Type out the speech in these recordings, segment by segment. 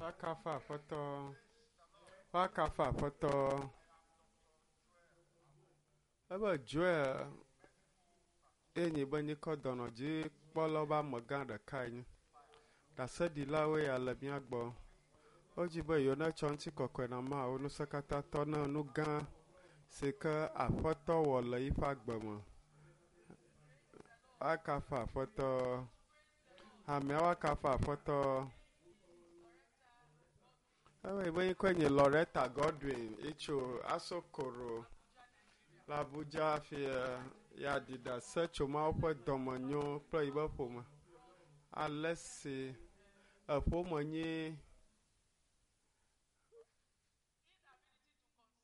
Woakafu Aƒetɔ. Woakafu Aƒetɔ. Ebe Joel ye nyi be nyikɔ dɔnɔdzikpɔlawo be amegã ɖekae nye. Ɖaseɖilawoe ya le mía gbɔ. Wodzi be yewo netsɔ ŋutikɔkɔe na Mawu Ŋusẽkatãtɔ ne nu gã si ke Aƒetɔ wɔ le yiƒe agbe me. Woakafu Aƒetɔ. Hameawo akafu Aƒetɔ. Ewɔe be ŋkɔe nye Loretta Godwin etso Asokoro le Abuja fia ya ɖi ɖase tso Mawu ƒe dɔmenyo kple yiƒe ƒome. Ale si eƒome nyi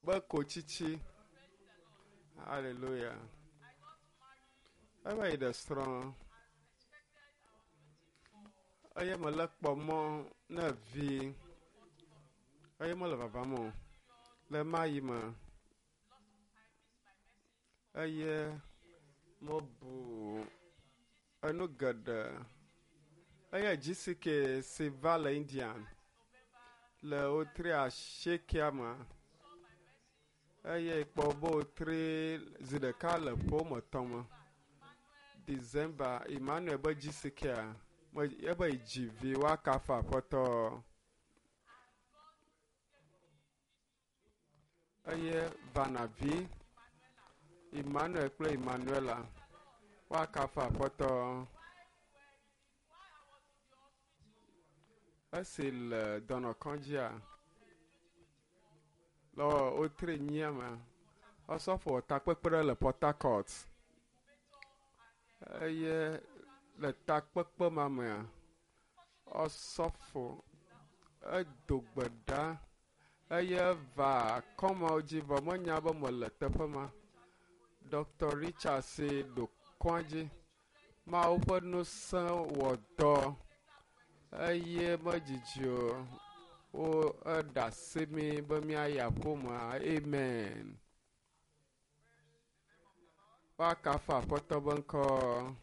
be kotsitsi. Hallelujah. Eva yi ɖe srɔ̃ eye mele kpɔ mɔ ne vi eye mele vavam o le ma yi me eye mebu enu geɖe eye GCK si va le India le wotri asiekea me eye kpɔ be wotri zi ɖeka le ƒe woame etɔ̃ me. December Emmanuel be GCK-a ebe yi dzi vi woakafu Aƒetɔ. Eye Vanavi, Emmanuel kple Emmanuela woakafu Aƒetɔ. Esi le dɔnɔkɔdzia le wotri nyia me, osɔfo wɔ takpekpe ɖe le Port Harcourt eye le takpekpe ma mea, osɔfo edo gbe ɖa eye eva kɔmewo dzi vɔ menya be mele teƒe ma. Dr. Richard si ɖo kɔa dzi. Mawu ƒe ŋusẽ wɔ dɔ eye medzidzi o. Wo eɖe asi mi be míayi aƒeme. Amen. Woakafu Aƒetɔ be ŋkɔ.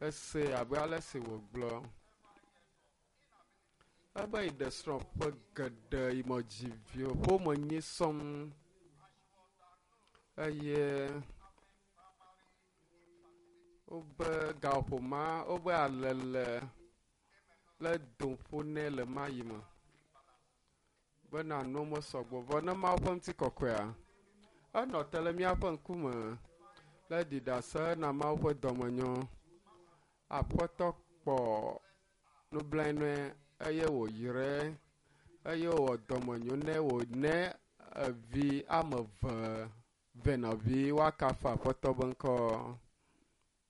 Ese abe ale si wògblɔ. Ebe yi ɖe srɔ̃ ƒe geɖe yi me dzi vi o. Ƒome nyi sɔŋ eye wobe gaƒoƒo ma wobe alele le dom ƒo nɛ le ma yi me bena nuwo mesɔgbɔ o. Vɔ ne Mawu ƒe ŋutikɔkɔea, enɔ te le míaƒe ŋkume le ɖi ɖase na Mawu ƒe dɔmenyo. Aƒetɔ kpɔ nublanui eye wòyrae eye wòwɔ dɔmenyo nɛ wòne evi ame eve venɔvi woakafu Aƒetɔ be ŋkɔ.